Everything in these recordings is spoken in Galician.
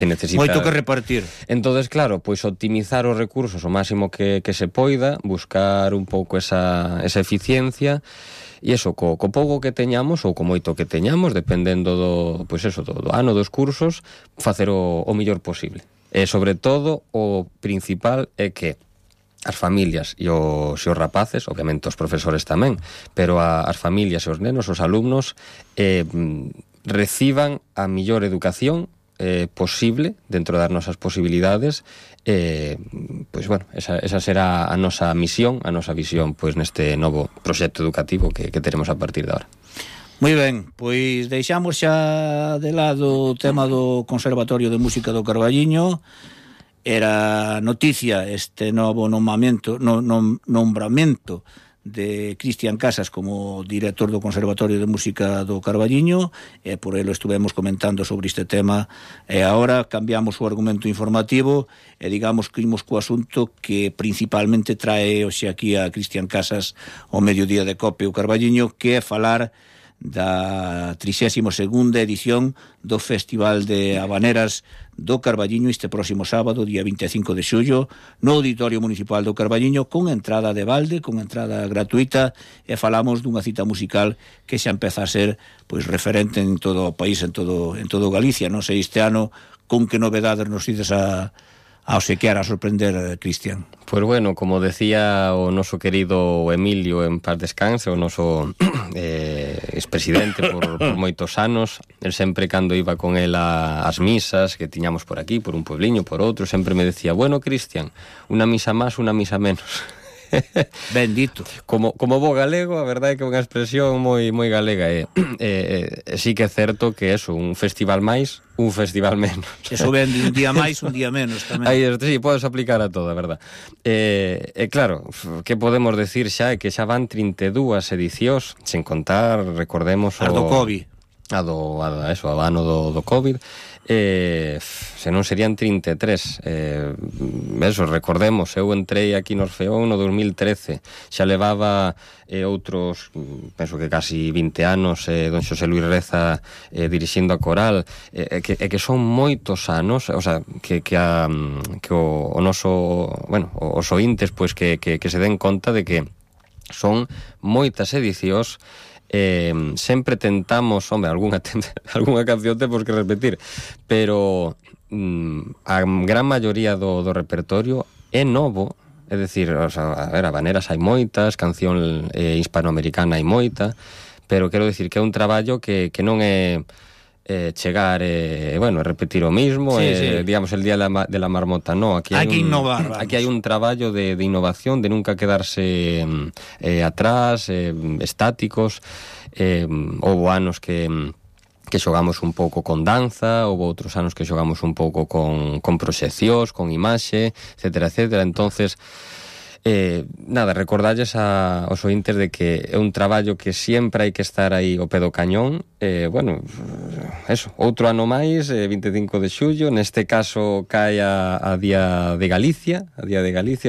necesita... Moito que repartir. Entonces, claro, pois optimizar os recursos o máximo que se poida, buscar un pouco esa eficiencia, e iso, co pouco que teñamos ou co moito que teñamos, dependendo do ano dos cursos, facer o mellor posible. E, sobre todo, o principal é que as familias e os rapaces, obviamente os profesores tamén, pero as familias e os nenos, os alumnos, reciban a mellor educación posible dentro das nosas posibilidades. Pois bueno, esa será a nosa misión, a nosa visión, pois neste novo proxecto educativo que teremos a partir de agora. Moi ben, pois deixamos xa de lado o tema do Conservatorio de Música do Carballiño. Era noticia este novo nombramento de Cristian Casas como director do Conservatorio de Música do Carballiño, e por ele estuvemos comentando sobre este tema, e agora cambiamos o argumento informativo e digamos que imos co asunto que principalmente trae hoxe aquí a Cristian Casas ao mediodía de Cope o Carballiño, que é falar da 32ª edición do Festival de Habaneras do Carballiño este próximo sábado, día 25 de xullo, no Auditorio Municipal do Carballiño, con entrada de balde, con entrada gratuita, e falamos dunha cita musical que xa empeza a ser pois referente en todo o país, en todo Galicia. Non sei este ano con que novedades nos ides a obsequiar, a sorprender, Cristian. Pois bueno, como decía o noso querido Emilio, en paz descanse, o noso expresidente por moitos anos, el sempre cando iba con el ás misas que tiñamos por aquí, por un puebliño, por outro, sempre me decía, bueno, Cristian, unha misa máis, unha misa menos. Bendito. Como bo galego, a verdade é que é unha expresión moi galega, sí que é certo que eso, un festival máis, un festival menos. Eso vende un día máis, un día menos tamén. Aí, sí, podes aplicar a todo, a verdad. Claro, que podemos decir xa é que xa van 32 edicións, sen contar, recordemos as do COVID. O ano do COVID, se non serían 33. Recordemos, eu entrei aquí no Orfeón no 2013, xa levaba outros, penso que casi 20 anos, don Xosé Luis Reza dirixindo a coral, que son moitos anos, o sea, que o noso, bueno, os ointes, pois que se den conta de que son moitas edicións. Sempre tentamos, algunha canción temos que repetir, pero a gran maioría do repertorio é novo, é dicir, habaneras hai moitas, canción hispanoamericana hai moita, pero quero dicir que é un traballo que non é chegar repetir o mismo, sí. Digamos el día de la marmota, no, aquí hai que innovar, aquí hai un traballo de innovación, de nunca quedarse atrás, estáticos. Houve anos que xogamos un pouco con danza, houve outros anos que xogamos un pouco con proxeccións, con imaxe, etcétera, etcétera. Entonces, recordarlles aos ointes de que é un traballo que sempre hai que estar aí ao pé do cañón. Outro ano máis, 25 de xullo, neste caso cae a Día de Galicia,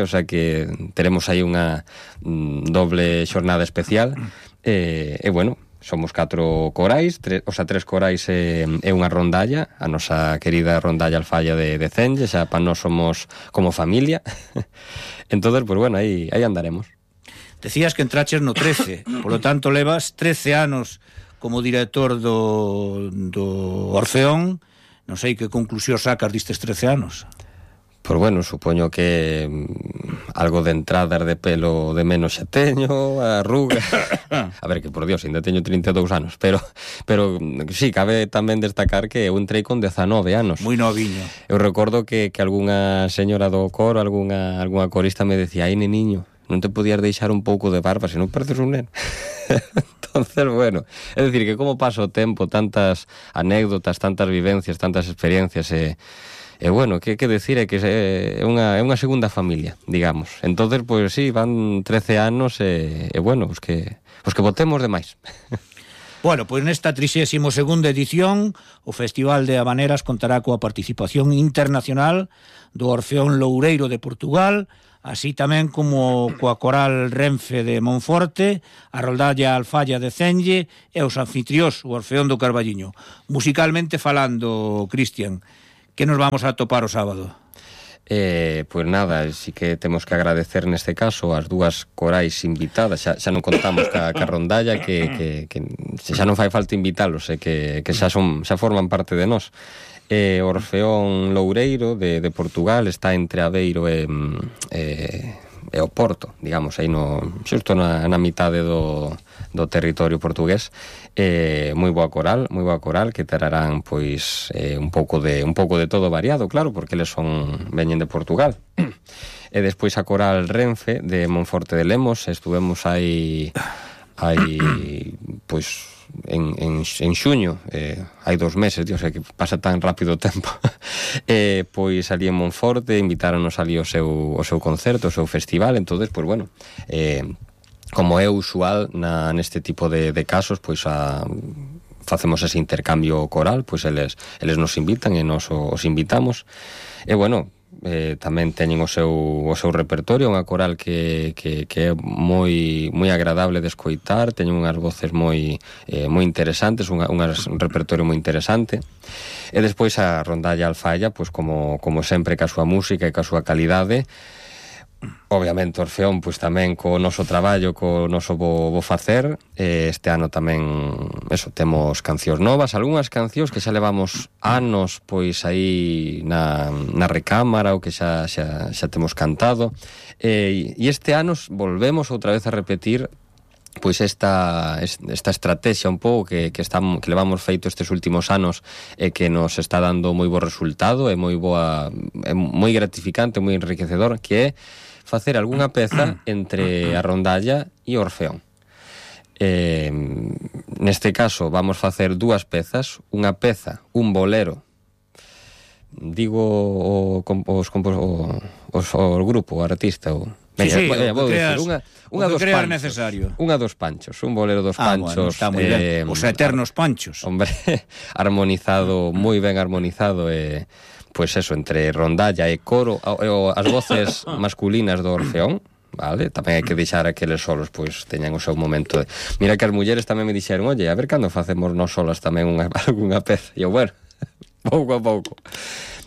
o sea que teremos aí unha doble xornada especial. Somos 4 corais, 3 corais e unha rondalla, a nosa querida rondalla Alfalla de Cenge, xa para nós somos como familia. Entonces, pues bueno, aí andaremos. Decías que entraches no 13, por lo tanto levas 13 anos como director do Orfeón. Non sei que conclusión sacas destes 13 anos. Pois bueno, supoño que algo de entradas de pelo de menos xa teño, arruga. A ver, que por Dios, ainda teño 32 anos, pero sí, cabe tamén destacar que eu entrei con 19 anos. Moi noviño. Eu recordo que algunha señora do coro, algunha corista me decía, ai, neniño, non te podías deixar un pouco de barba, se non pareces un neno. Entonces, bueno, é dicir, que como pasa o tempo, tantas anécdotas, tantas vivencias, tantas experiencias, bueno, que decir é que é unha segunda familia, digamos. Entonces, pois sí, van 13 anos bueno, os que botemos de máis. Bueno, pois nesta 32ª edición o Festival de Habaneras contará coa participación internacional do Orfeón Loureiro de Portugal, así tamén como coa Coral Renfe de Monforte, a Rondalla Alfalla de Cenge e os anfitrións, o Orfeón do Carballiño. Musicalmente falando, Cristian, Que nos vamos a topar o sábado? Pois nada, sí que temos que agradecer neste caso as dúas corais invitadas. Xa non contamos ca rondalla que xa non fai falta invitalos, que xa forman parte de nós. Orfeón Loureiro de Portugal está entre Aveiro e o Porto, digamos, aí xusto na mitade do territorio portugués. Moi boa coral que terarán pois un pouco de todo variado, claro, porque eles veñen de Portugal. E despois a coral Renfe de Monforte de Lemos, estuvemos aí pois en xuño, hai 2 meses, Dios, que pasa tan rápido o tempo. Pois ali en Monforte invitáronos ali o seu concerto, o seu festival. Entonces, pois bueno, como é usual neste tipo de casos, pois facemos ese intercambio coral, pois eles nos invitan e nos os invitamos. E bueno, tamén teñen o seu repertorio, unha coral que é moi agradable de escoitar, teñen unhas voces moi interesantes, un repertorio moi interesante. E despois a rondalla Alfalla, pois como sempre, ca súa música e ca súa calidade. Obviamente Orfeón, pois tamén co noso traballo, co noso bo facer. Este ano tamén temos cancións novas, algunhas cancións que xa levamos anos pois aí na recámara, ou que xa temos cantado, e este ano volvemos outra vez a repetir pois esta estrategia un pouco que levamos feito estes últimos anos, e que nos está dando moi bo resultado, é moi gratificante, moi enriquecedor, que é facer algunha peza entre a rondalla e o Orfeón. Neste caso vamos facer 2 pezas, unha peza, un bolero, digo o grupo, o artista, vou dicir unha dos panchos, necesario. Unha dos panchos, un bolero dos panchos, está moi ben. Os eternos panchos. Hombre, armonizado, moi ben armonizado, pois eso, entre rondalla e coro, as voces masculinas do Orfeón, vale? Tamén hai que deixar a que eles solos pois teñan o seu momento Mira que as mulleres tamén me dixeron, oye, a ver cando facemos nós solas tamén algunha peza. E eu, bueno, pouco a pouco.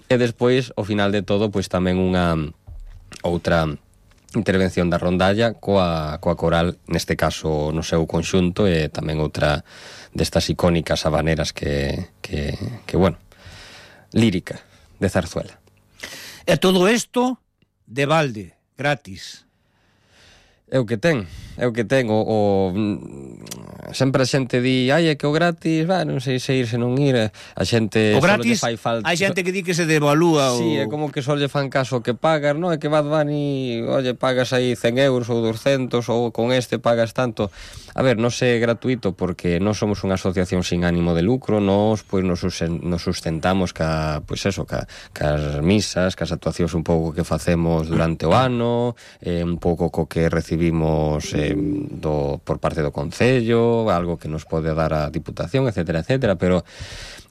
E despois, ao final de todo, pois tamén unha outra intervención da rondalla coa coral, neste caso no seu conxunto, e tamén outra destas icónicas habaneras que bueno, lírica de Zarzuela. E todo isto de balde, gratis. É o que ten. Sempre a xente di, é que o gratis, non sei se ir, se non ir. A xente o gratis, fai falta. hai xente que di que se devalúa. Sí, é como que só lle fan caso que pagas, non? É que Bad Bunny, oye, pagas aí 100 euros ou 200, ou con este pagas tanto. A ver, non é gratuito, porque non somos unha asociación sin ánimo de lucro. Nós, pois, nos sustentamos cas misas, cas actuacións un pouco que facemos durante o ano, un pouco co que recibimos por parte do Concello, algo que nos pode dar a Diputación, etcétera, etcétera. Pero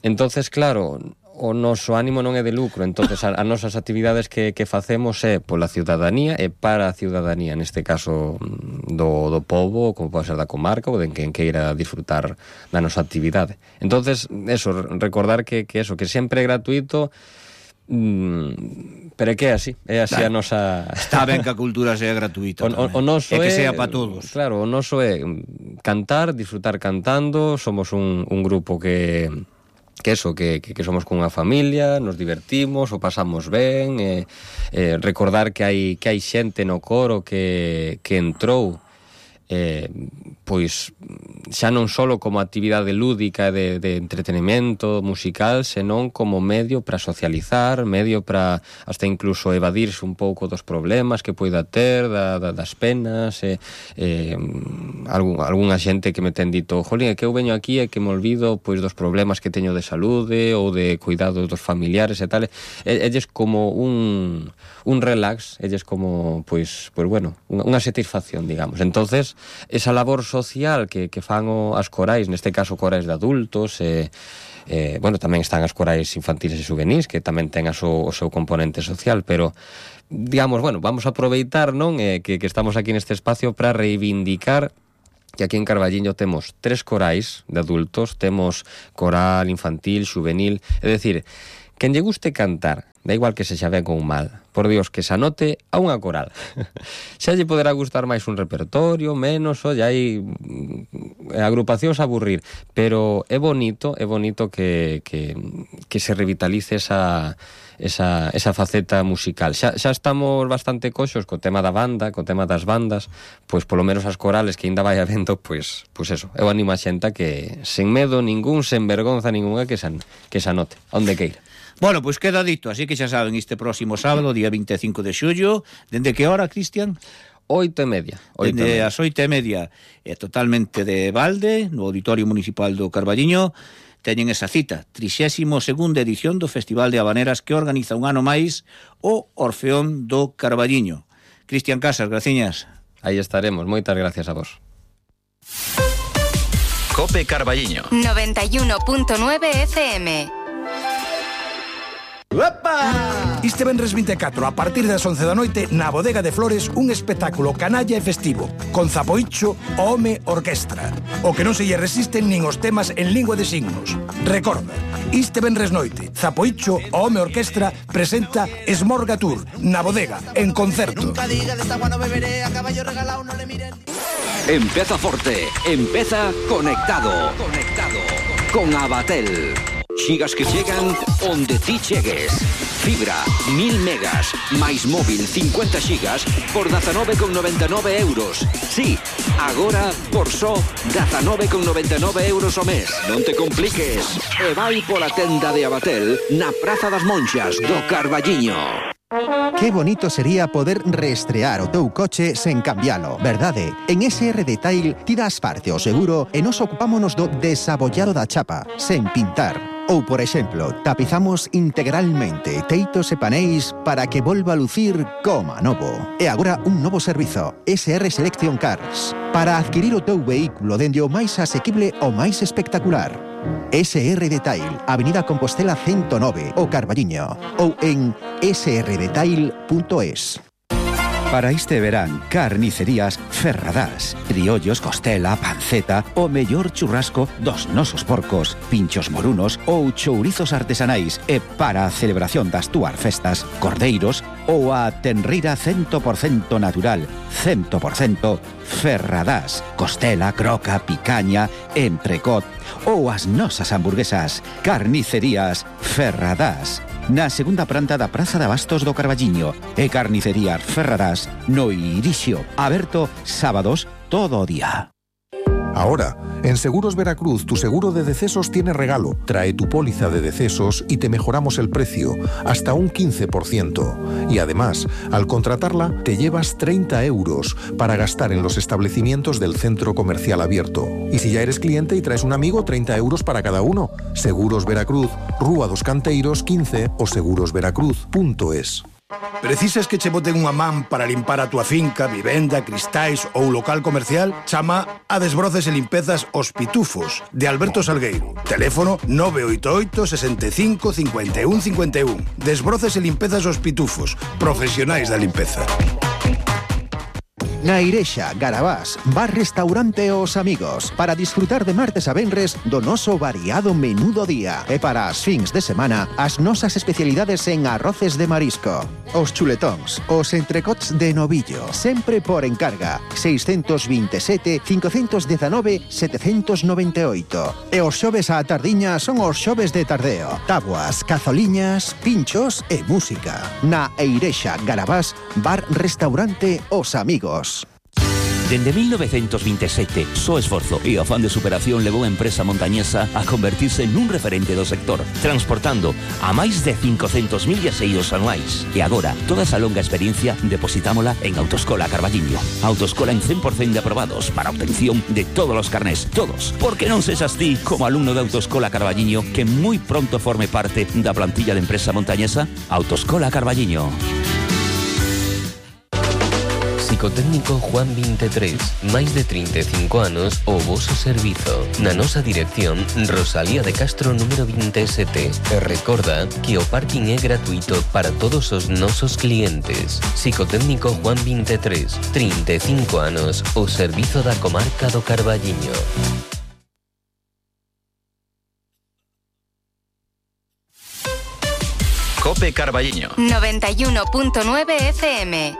entonces, claro, o noso ánimo non é de lucro. Entonces as nosas actividades que facemos é pola ciudadanía e para a ciudadanía, neste caso do pobo, como pode ser da comarca, ou de quen queira disfrutar da nosa actividade. Entonces, eso, recordar que sempre é gratuito, pero é que é así a nosa... Está ben que a cultura sea gratuita, o noso é que sea para todos. Claro, o noso é cantar, disfrutar cantando. Somos un grupo que somos cunha familia, nos divertimos, o pasamos ben, recordar que hai xente no coro que entrou pois xa non só como actividade lúdica de entretenimento musical, senón como medio para socializar, medio para hasta incluso evadirse un pouco dos problemas que poida ter, das penas. Algunha xente que me ten dito, jolín, é que eu veño aquí e que me olvido pois dos problemas que teño de saúde ou de cuidados dos familiares e tal. Elles como un relax, elles como pois bueno, unha satisfacción, digamos. Entonces, esa labor social que fan as corais, neste caso corais de adultos, bueno, tamén están as corais infantiles e juvenis, que tamén ten o seu componente social, pero digamos, bueno, vamos a aproveitar, non, que estamos aquí neste espacio para reivindicar que aquí en Carballiño temos 3 corais de adultos, temos coral infantil, juvenil, é dicir, quen lle guste cantar, da igual que sexa ben ou mal, por Dios, que se anote a unha coral. Xa lle poderá gustar máis un repertorio, menos, olla, hai agrupacións a aburrir, pero é bonito que se revitalice esa faceta musical. Xa estamos bastante coxos co tema da banda, co tema das bandas, pois polo menos as corales que ainda vai habendo, pois eso, eu animo a xenta que sen medo ningún, sen vergonza ninguna, que se anote, onde queira. Bueno, pois queda dito, así que xa saben, este próximo sábado, día 25 de xullo, dende que hora, Cristian? 8:30. Dende as 8:30, totalmente de balde, no Auditorio Municipal do Carballiño, teñen esa cita, 32ª edición do Festival de Habaneras que organiza un ano máis o Orfeón do Carballiño. Cristian Casas, graciñas. Aí estaremos, moitas gracias a vos. Cope Carballiño 91.9 FM. Uepa! Este venres 24, a partir das 11 da noite, na Bodega de Flores, un espectáculo canalla e festivo, con Zapoicho, o Home Orquestra. O que non se lle resisten nin os temas en lingua de signos. Recorda, este venres noite, Zapoicho, o Home Orquestra, presenta Esmorga Tour, na Bodega, en concerto. Empeza forte, empeza conectado. Con Abatel. Xigas que chegan onde ti chegues. Fibra, 1000 megas, máis móvil 50 xigas por 19,99 euros. Sí, agora por só 19,99 euros o mes. Non te compliques. E vai pola tenda de Abatel na Praza das Monxas do Carballiño. Que bonito sería poder reestrear o teu coche sen cambialo, verdade? En SR Detail ti das parte o seguro e nos ocupámonos do desabollado da chapa, sen pintar. Ou, por exemplo, tapizamos integralmente teitos e paneis para que volva a lucir coma novo. E agora un novo servizo, SR Selection Cars, para adquirir o teu vehículo dende o máis asequible ao máis espectacular. SR Detail, Avenida Compostela 109, o Carballiño, ou en srdetail.es. Para este verán, carnicerías Ferradás. Criollos, costela, panceta, o mellor churrasco dos nosos porcos, pinchos morunos ou chourizos artesanais. E para a celebración das túas festas, cordeiros ou a tenrira 100% natural, 100% Ferradás. Costela, croca, picaña, entrecot ou as nosas hamburguesas. Carnicerías Ferradás. Na segunda planta da Praza de Abastos do Carballiño e Carnicerías Ferradás no Irixio, aberto sábados todo o día. Ahora, en Seguros Veracruz, tu seguro de decesos tiene regalo. Trae tu póliza de decesos y te mejoramos el precio, hasta un 15%. Y además, al contratarla, te llevas 30 euros para gastar en los establecimientos del centro comercial abierto. Y si ya eres cliente y traes un amigo, 30 euros para cada uno. Seguros Veracruz, Rúa dos Canteiros 15 o segurosveracruz.es. Precisas que che boten unha man para limpar a túa finca, vivenda, cristais ou local comercial? Chama a Desbroces e Limpezas Os Pitufos, de Alberto Salgueiro. Teléfono 988 65 51 51. Desbroces e Limpezas Os Pitufos, profesionais da limpeza. Na Irexa, Garabás, bar-restaurante Os Amigos, para disfrutar de martes a venres do noso variado menú do día. E para as fins de semana, as nosas especialidades en arroces de marisco, os chuletóns, os entrecots de novillo, sempre por encarga, 627 519 798. E os xoves á tardiña son os xoves de tardeo, tabuas, cazoliñas, pinchos e música. Na Irexa, Garabás, bar-restaurante Os Amigos. Dende 1927, só esforzo e afán de superación levou a empresa montañesa a convertirse nun referente do sector, transportando a máis de 500.000 viaxeiros anuais. E agora, toda esa longa experiencia depositámola en Autoescola Carballiño. Autoescola en 100% de aprobados para obtención de todos os carnés, todos. Porque non sexas ti, como alumno de Autoescola Carballiño, que moi pronto forme parte da plantilla de empresa montañesa. Autoescola Carballiño. Psicotécnico Juan 23, máis de 35 anos o voso servizo. Na nosa dirección, Rosalía de Castro número 27. E recorda que o parking é gratuito para todos os nosos clientes. Psicotécnico Juan 23, 35 anos, o servizo da comarca do Carballiño. Cope Carballiño. 91.9 FM.